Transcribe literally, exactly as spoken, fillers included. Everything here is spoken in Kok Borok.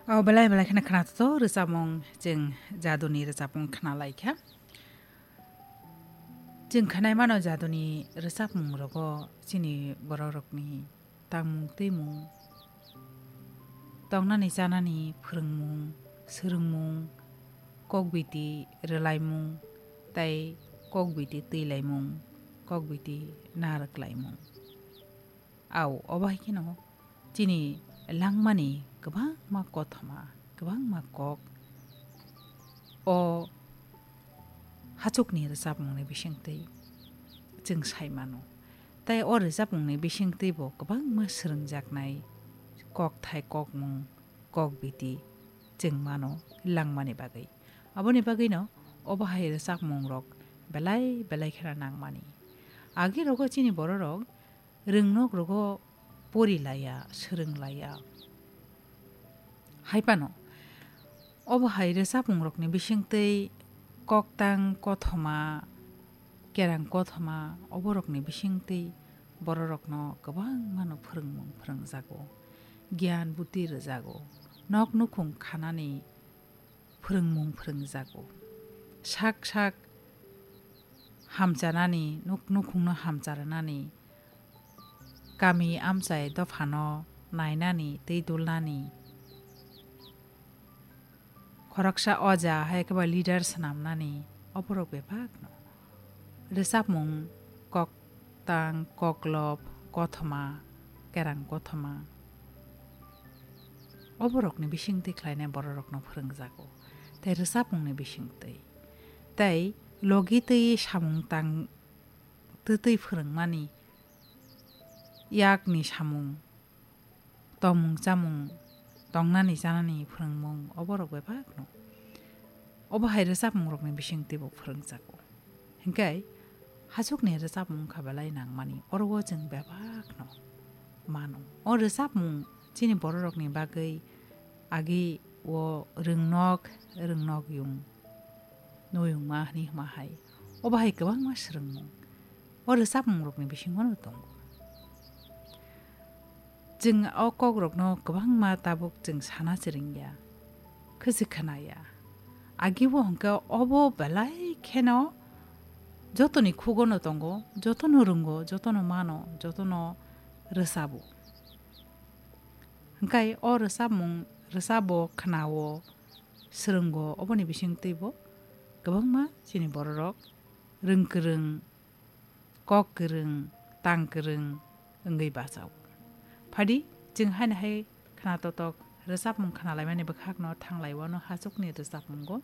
O belai belai kheno khwnathok rwchapmung, chwng jaduni rwchapmung khwnalaikha. Chwng khwnai mano jaduni rwchapmung rogo chini borok rokni tangmung twimung, tongnani chanani phwrwngmung, swrwngmung, kokbiti rwlaimung tei kokbiti twilaimung, kokbiti narwklaimung. Au, obo hai kheno chini langmani kwbangma kothoma, kwbangma kok o hachukni rwchapmungni bisingtwi chwng sai mano. Tei o rwchapmungni bisingtwi bo kwbangma swrwngjaknai kokthai, kokmung, kokbiti chwng mano langmani bagwi. Aboni bagwino obo hai rwchapmungrok belai belai kheno nangmani. Agi rogo chini bororok rwngnok rogo pori laiya, swrwng laiya. Hai phano, obo hai rwchapmungrokni bisingtwi koktang kothoma, kerang kothoma, oborokni bisingtwi bororokno kwbangmano phwrwngmung phwrwngjago, giyan buti rwjago, nok nukhung khanani phwrwngmung phwrwngjago. Sak sak hamchanani, nuk-, nukhungno hamcharnani, kami amchai dophano nainani tei dulnani, khoroksa oja hai khe ba leader swnamnani, oborok bebakno rwchapmung, koktang, koklop, kothoma, kerang kothoma, oborokni bisingtwi khlainai bororokno phwrwngjago, tei rwchapmungni bisingtwi. Tei logi twi samung tang twtwi phwrwngmani, yakni samung, tongmung chamung, tongnani chanani phwrwngmung, oborok bebakno obo hai rwchapmungrokni bisingtwi bo phwrwngjago. Hinkhe hachukni rwchapmung wngkha belai nangmani, oro o chwng bebakno mano. O rwchapmung chini bororokni bagwi agi o rwngnok, rwngnokyung, noyungma hwnwi hwnma hai. Obo hai kwbangma swrwngmung o rwchapmungrokni bisingono tongo. Chwng o kokrokno kwbangma tabuk chwng sana siringya, khwsi khwnaya. Agibo hwnkhe obo belai kheno jotoni khugono tongo, jotono rwngo, jotono mano, jotono rwchabo. Hwnkhe o rwchapmung, rwchabo, khwnao, swrwngo, oboni bisingtwibo kwbangma chini bororok rwng kwrwng, kok kwrwng, tang kwrwng wngwi bachao. Phadi, chwng haino hai khwna totok rwchapmung khwnalaimani bwkhakno thanglaiwano hachukni rwchapmungo